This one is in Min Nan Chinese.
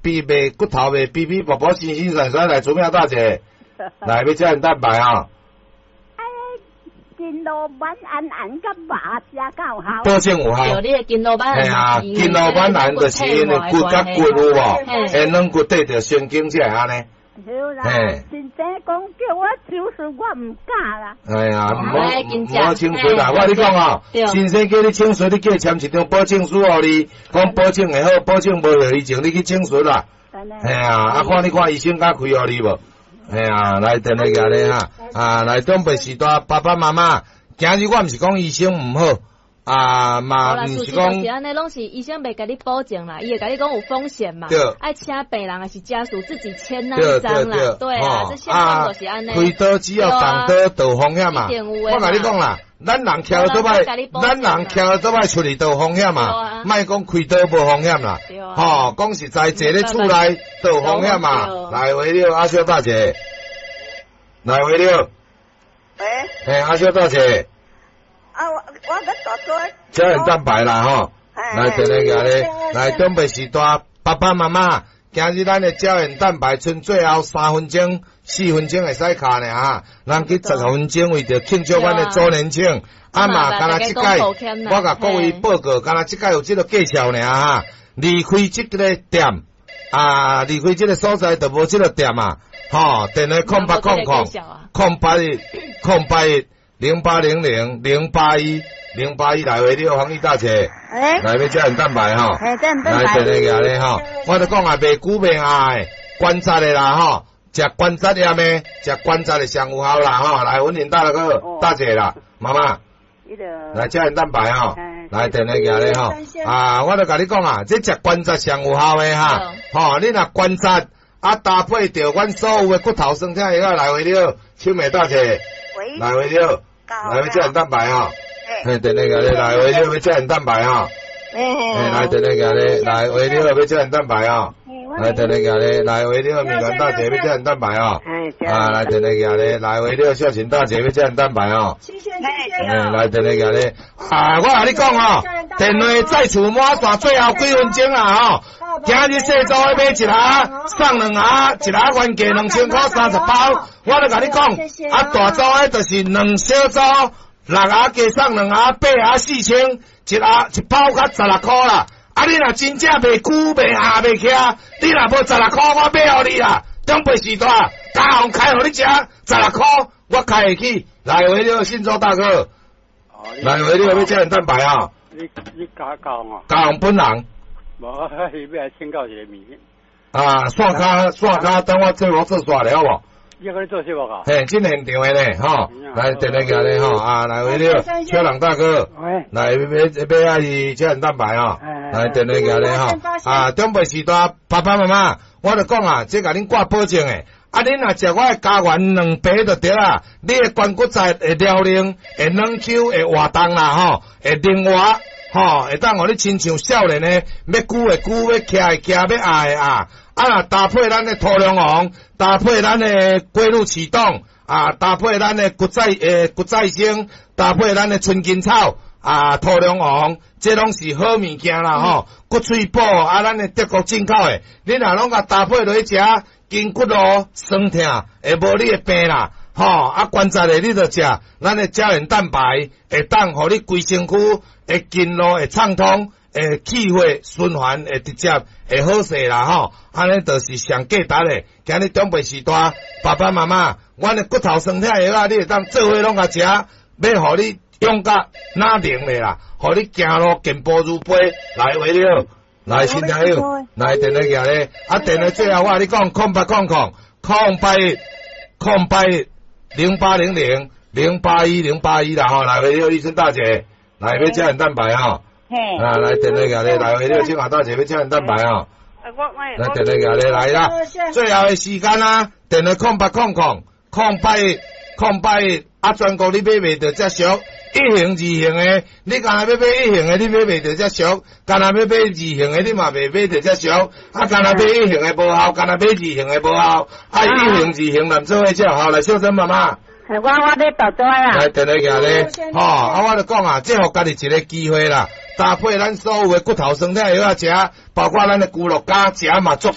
皮袂骨頭袂皮皮薄薄，新新鮮鮮來，主妙大姐，來欲膠原蛋白啊！筋勞丸安安佮肉食敢有效？保證有效。對，你的筋勞丸。嘿啊，筋勞丸安就是𪜶的骨佮骨有無？會軟骨綴著神經才會按呢。對啦，先生講叫我手術，我毋敢啦。哎呀，毋好毋好請術啦！我共你講哦，先生叫你請術，你叫伊簽一張保證書予你，講保證會好，保證無後遺症，你去請術啦。嘿啊，啊看你看醫生敢開予你無？嘿啊，來電話寄咧哈，啊來長輩時代爸爸媽媽，今日我毋是講醫生毋好。啊嘛，毋是講，是按呢，攏是醫生袂共你保證啦，伊會共你講有風險嘛，愛請病人還是家屬自己簽那一張啦，對啊，這現況就是按呢。開刀只要動刀就有風險嘛，我共你講啦，咱人徛倒擺，咱人徛倒擺出去都有風險嘛，莫講開刀無風險啦，吼，講實在，坐咧厝內都有風險嘛。來回了，阿小大姐，來回了，喂，嘿，阿小大姐。啊，我我欲大做。膠原蛋白啦吼，來電話來，來長輩時代爸爸媽媽，今日咱的膠原蛋白賰最後3分鐘、4分鐘會使敲呢哈，咱去10分鐘為著慶祝阮的周年慶，啊嘛，敢若這擺，我共各位報告，敢若這擺有這個介紹爾哈，離開這个店，啊，離開這個所在就無這個店啊，吼，電話0800 081 0810800 081 081來回你好，黃玉大姐，來欲膠原蛋白吼，來電話咧吼，我就講啊，袂久袂壓的，關節的啦吼，食關節炎的，食關節的上有效啦吼，來文玲大哥大姐啦，媽媽，來膠原蛋白吼，來電話咧吼，啊，我就共你講啊，這食關節上有效的哈，吼，你若關節啊搭配著阮所有的骨頭酸痛藥來回了，秋美大姐，來回了。來欲膠原蛋白吼，嘿，電話咧，來回了欲膠原蛋白吼，嘿，來電話咧，來回了欲膠原蛋白吼，來電話咧，來回了米蘭大姐欲膠原蛋白吼，啊，來電話咧，來回了孝琴大姐欲膠原蛋白吼，嘿，來電話咧，啊，我共你講吼，電話再厝滿線，最後幾分鐘啊吼。今日細組的買一盒送兩盒，一盒原價2000塊30包。我就共你講，啊大組的就是兩小組，六盒加送兩盒，八盒4000，一盒一包較16箍啦。啊，你若真正袂久袂壓袂徛，你若無十六箍，我買予你啦。長輩時代，加紅開予你食，十六箍我開會起。來回了，信州大哥，來回了，欲膠原蛋白啊！你你加加紅啊？加紅本人。無，欲來請教一個物件。啊，線跤線跤，等我做我做煞了好無？你閣咧做節目啊？嘿，真現場的咧，吼，來電話過來吼，啊，來回了，小人大哥，來欲欲愛膠原蛋白吼，來電話過來吼，啊，長輩時代爸爸媽媽，我就講啊，這共恁掛保證的，啊，恁若食我的膠原兩白就對啦，你的關骨節會療靈，會軟 Q，會活動啦，吼，會靈活。吼，會當予你親像少年的，欲久會久，欲徛會徛，欲壓會壓。啊，若搭配咱的土龍王，搭配咱的龜鹿啟動，啊，搭配咱的骨再骨再生，搭配咱的春根草，啊，土龍王，這攏是好物件啦吼。骨髓補啊，咱的德國進口的，你若攏共搭配落去食，筋骨路酸痛會無你的病啦。吼，啊，關節的你就食，咱的膠原蛋白會當予你規身軀的經絡會暢通，會氣血循環會直接會好勢啦吼。按呢就是上價值的。今日長輩時代，爸爸媽媽，阮的骨頭酸痛藥啊，你會當做伙攏共食，欲予你勇甲哪能的啦，予你行路健步如飛，來話了，來新朋友，來電話寄咧，啊電話最後我共你講，0800 081 0810800 081 081啦吼，來回了，醫生大姐，來欲膠原蛋白吼，啊來電話寄咧，來回了，清華大姐欲膠原蛋白吼，來電話寄咧，來啦，最後的時間啊，電話0800 081 081，啊全國你買袂著遮俗，一型二型的，你干焦欲買一型的，你買袂著遮俗；干焦欲買二型的，你嘛袂買著遮俗。啊，干焦買一型的無效，干焦買二型的無效。啊，一型二型連做伙才有效。來，小珍媽媽。我我欲大組啦。來，電話寄咧，吼，啊，我就講啊，這予家己一个機會啦，搭配咱所有的骨頭酸痛藥仔食，包括咱的龜鹿膠食嘛足讚。